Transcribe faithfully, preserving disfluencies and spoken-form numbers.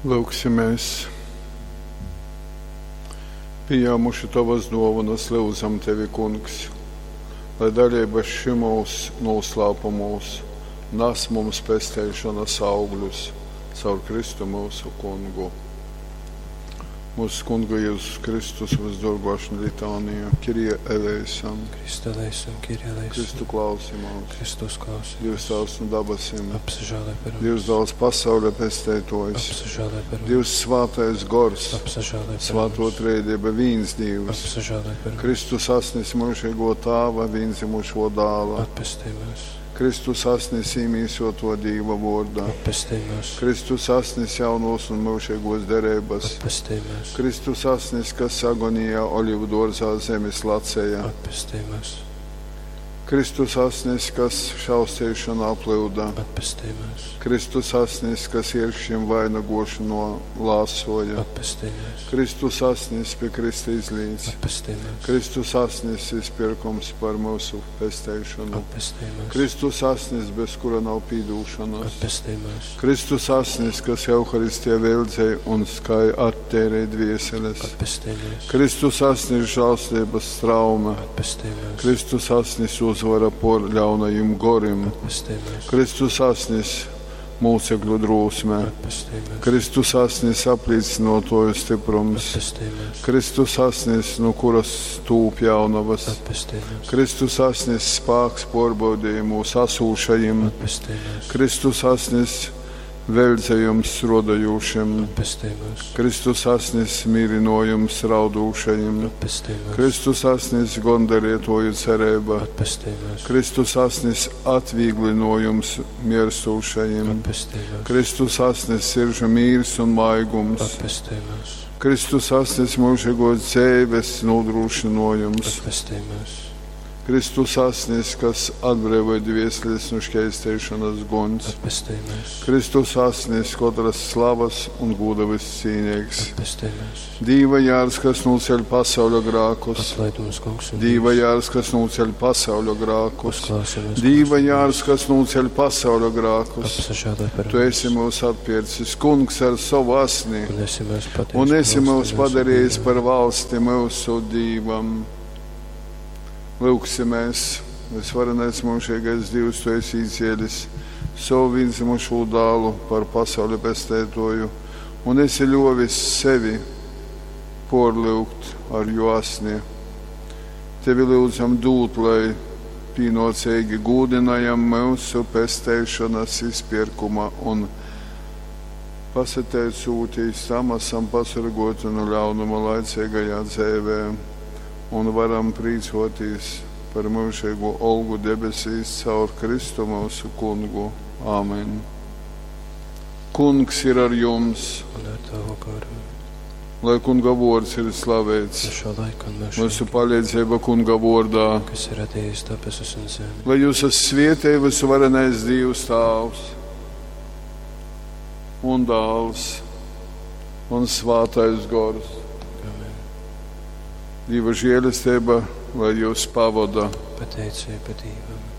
Lūgsimies! Pījāmuši Tovas duovanas, lyudzam Tevi, Kungs, lai dalība šymūs nūslāpumūs nas mums pesteišonas augļus caur Kristu myusu Kungu. Mūsu Kunga Jēzus Kristus visdorgo ašņa litānija, Kyrie eleison, Christe eleison, Kyrie eleison. Kristu klausi mūs, Kristus klausi. Dievs Tēvs no dabasim, Apsažēlē par mums. Dievs dāls pasaules pesteitojs, Apsažēlē par mums. Dievs svātais gors, Apsažēlē par svāto mums. trejdieba vīns Dievs, Apsažēlē par mums. Kristus asnis mūžīgo tāva, vīnzimušo dāla, Atpestī mūs. Kristus asnis īmīsoto Dīva vordā, Atpestī mūs. Kristus asnis jaunos un mūžīgos derības, Atpestī mūs. Kristus asnis, kas agonijā olivu dārzā zemes lacēja, Atpestī mūs. Kristus asnis, kas šaustīšanā plūda, Atpestī mūs. Kristus asnis, kas ierkšķim vainagošanu lāsoja, Atpestī mūs. Kristus asnis pie Krista izlīdz, Atpestī mūs. Kristus asnis izpirkums par mūsu pesteišanu, Atpestī mūs. Kristus asnis, bez kura nav pīdūšanas, Atpestī mūs. Kristus asnis, kas Euharistijā veldzēja un skai attērē dvieseles, Atpestī mūs. Kristus asnis žēlstības straume, Atpestī mūs. Kristus asnis uzvara por ļaunajim gorim, Atpestī mūs. Kristus asnis mūcekļu drūsme, Atpestī mūs. Kristus asnis apliecinotoju stiprums, Atpestī mūs. Kristus asnis, no kuras tūp jaunavas, Atpestī mūs. Kristus asnis spāks porbaudījumos asūšajim, Atpestī mūs. Kristus asnis veldzējums rodajušiem, Atpestī mūs. Kristus asnis mīrinojums raudūšajim, Atpestī mūs. Kristus asnis gondarietoju cerība, Atpestī mūs. Kristus asnis atvieglinojums mirstūšajim, Atpestī mūs. Kristus asnis siržu mīrs un maigums, Atpestī mūs. Kristus asnis mūžīgos dzīves nodrošinojums, Atpestī mūs. Kristus asnis, kas atbrīvoja dvieseles no šķēstēšanas guns, Atpestī mūs. Kristus asnis, katras slavas un gūda viscīnīgs, Atpestī mūs. Dīva jārs, kas nūceļ pasauļa grākus, Atlaid mums, Kungs, un Dīva Dievs. jārs, kas nūceļ pasauļa grākus, Uzklausi mūs, Dīva Kungs, un jārs, Dievs. kas nūceļ pasauļa grākus. Apsažēlē par Tu esi mums. mūs atpircis, Kungs, ar savu asni, Un esi mūs patiesi un esi mūs valsti mūsu padarījis Dievam. par valsti mūsu Dīvam. Lūksimies, visvarenais mūžīgais Dievs, Tu esi īcielis savu vienzimušo dālu par pasauli pestētoju, un esi ļovis sevi porlūgt ar jo asni. Tevi lūdzam dūt, lai pīnocīgi gūdinājam mūsu pesteišanas izpirkuma un pasateicūtīs tam esam pasargoti no ļaunuma laicīgajā dzīvē un varam prīcoties par mūžīgo olgu debesīs caur Kristu mūsu kungu. Āmen. Kungs ir ar jums, Un ar tavu garu. lai kunga vārds ir slavēts. No šo laiku un Mūsu mūžīgi, palīdzība kunga vārdā. kas ir radījis debesis un zemi. Lai jūs esat svietēji visvarenais Dievs Tāvs un Dāls un Svātais Gors. Amen. Dieva žēlastība, lai jūs pavada. Pateicība Dievam.